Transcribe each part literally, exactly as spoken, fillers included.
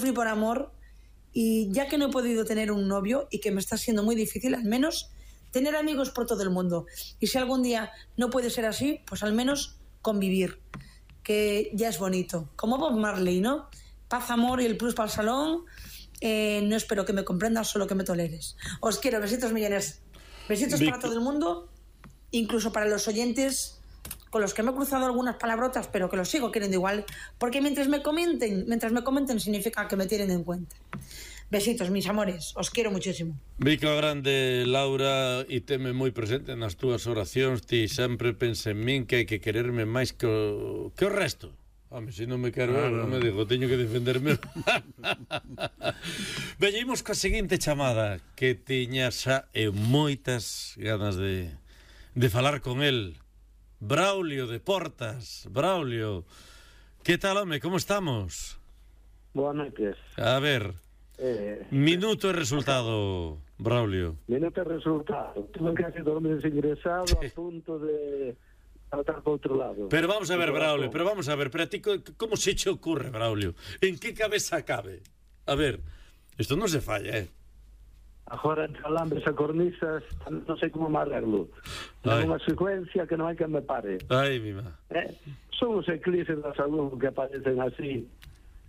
sufrí por amor y ya que no he podido tener un novio y que me está siendo muy difícil, al menos tener amigos por todo el mundo. Y si algún día no puede ser así, pues al menos convivir, que ya es bonito. Como Bob Marley, ¿no? Paz, amor y el plus para el salón. Eh, no espero que me comprendas, solo que me toleres. Os quiero, besitos millones. Besitos Vic- para todo el mundo, incluso para los oyentes con los que me he cruzado algunas palabrotas, pero que los sigo queriendo igual, porque mientras me comenten, mientras me comenten significa que me tienen en cuenta. Besitos, mis amores, os quiero muchísimo. Vico grande, Laura, e teme moi presente nas túas oracións. Ti sempre pensa en min que hai que quererme máis que o, que o resto. Home, se non me quero, ah, non me digo, teño que defenderme. Veñimos coa seguinte chamada, que tiña xa e moitas ganas de, de falar con el. Braulio de Portas. Braulio, que tal, home, como estamos? Boas noites. A ver, eh, minuto e resultado, Braulio. Minuto e resultado. Tuve casi dos meses ingresado a punto de... para outro lado. Pero vamos a ver, Braulio, pero vamos a ver, pero a ti como se che ocurre, Braulio? En que cabeza cabe? A ver, isto non se falla, eh? Agora entre alambres e cornisas non sei como me arreglo. É unha secuencia que non hai que me pare. Ai, mima. Eh? Son os eclipses da salud que aparecen así,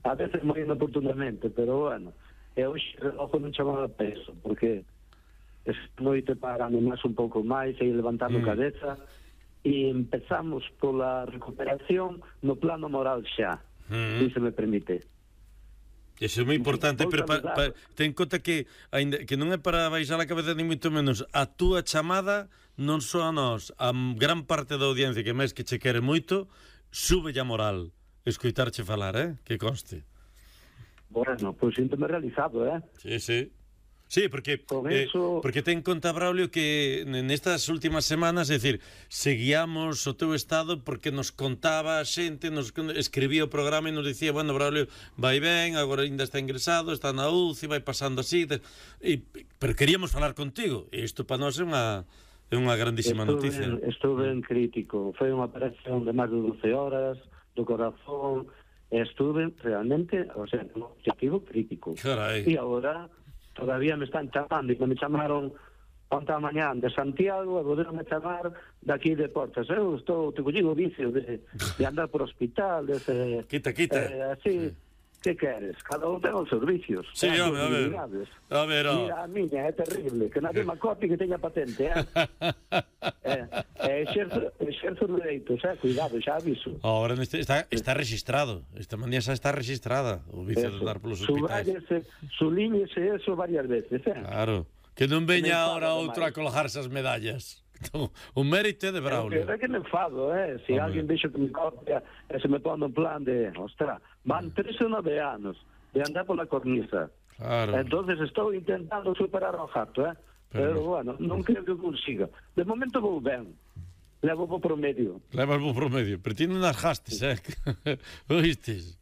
a veces moi inoportunamente, pero bueno, e hoxe o reloj non chamaba peso, porque es noite para animarse un pouco máis e ir levantando mm. cabeza. E empezamos pola recuperación no plano moral xa, mm. se me permite. Iso é moi importante, pero pa, pa, ten conta que ainda, que non é para baixar a cabeza ni moito menos. A túa chamada non só a nós, a gran parte da audiencia que máis que che quere moito, sube a moral escoitarche falar, eh? Que conste. Bueno, pois pues, síntome realizado, eh? Sí, sí. Sí, porque eh, eso... porque ten conta, Braulio, que nestas últimas semanas, é dicir, seguíamos o teu estado porque nos contaba a xente, nos escribía o programa e nos dicía, bueno, Braulio, vai ben, agora ainda está ingresado, está na U C I, vai pasando así, e, pero queríamos falar contigo, e isto para nós é unha, é unha grandísima estou noticia. Ben, estou ben crítico, foi unha operación de máis de doce horas, do corazón, e estuve realmente, o sea, un objetivo crítico. Carai. E agora... todavía me están chamando e me chamaron onte a mañán de Santiago e poderon me chamar daqui de Portas. Eu estou, te colligo o vicio de, de andar por hospital, de ese, quita, quita. Eh, así, sí. Que queres? Cada un ten os servicios. Sí, eh, home, a ver. A ver, oh. Mira, a miña é terrible, que nadie me copie que teña patente, eh? eh, eh exerzo, exerzo dereitos, eh? Cuidado, xa aviso. Ahora está, está registrado, esta mañá xa está registrada o vicio de andar polos hospitais. Sublíñese eso varias veces, eh? Claro, que non veña ahora outro a colgarse as medallas. Un mérito de Braulio. É que me enfado, eh? Se si alguén dixo que me copia e se me pone en plan de, ostra, van tres ou nove anos de andar pola cornisa. Claro. Entonces estou intentando superar o gato, eh? Pero, pero bueno, non creo que consiga. De momento vou ben. Levo po promedio. Levas po promedio, pero ti non as gastes, eh? Oístes?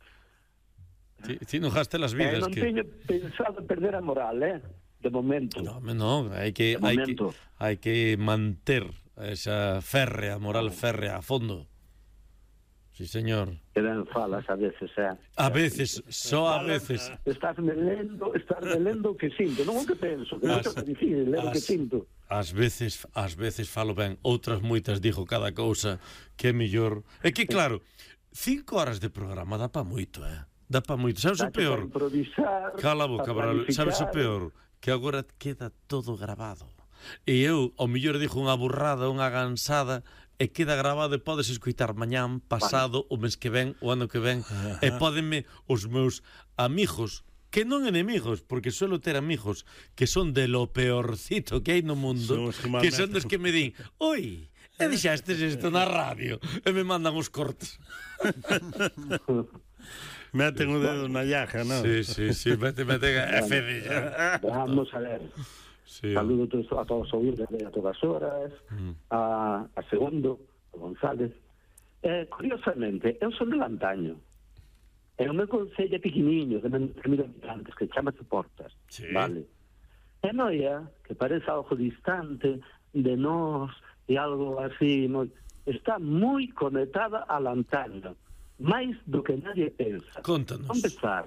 Ti, ti non gastes las vidas. Eh, non que... teño pensado perder a moral, eh? De momento. No, non, hai que, hai que, hai que manter esa férrea, moral férrea a fondo. Sí, señor. Que ben falas a veces, eh? A veces, só a veces. Estás me lendo, estás me lendo o que sinto, non o que penso, que non é difícil, ler o que sinto. Ás veces, ás veces falo ben, outras moitas digo cada cousa que é mellor. É que claro, cinco horas de programa dá pa moito, eh? Dá pa moito. Sabes o peor? Cala a boca, Braulio. Sabes o peor? Que agora queda todo grabado. E eu, ao mellor, dixo unha burrada, unha gansada, e queda grabado e podes escoitar mañán, pasado, o mes que ven, o ano que ven, e pódenme os meus amigos, que non enemigos, porque suelo ter amigos que son de lo peorcito que hai no mundo, que son dos que me din, oi, e dixastes isto na radio, e me mandan os cortes. Meten o dedo na llaga, non? Sí, sí, sí, meten, meten a fedilla. Vamos a ver. Sí. Saludo a todos os ouvires de A Todas Horas, mm. a, a Segundo, a González. Eh, curiosamente, eu son de Lantaño. E o meu concello é pequeniño, de mil habitantes, que chamase Portas. Sí. Vale. E Noia, que parece algo distante de nós, e algo así, moi, está moi conectada a Lantaño. máis do que nadie pensa. Contanos. Vamos empezar.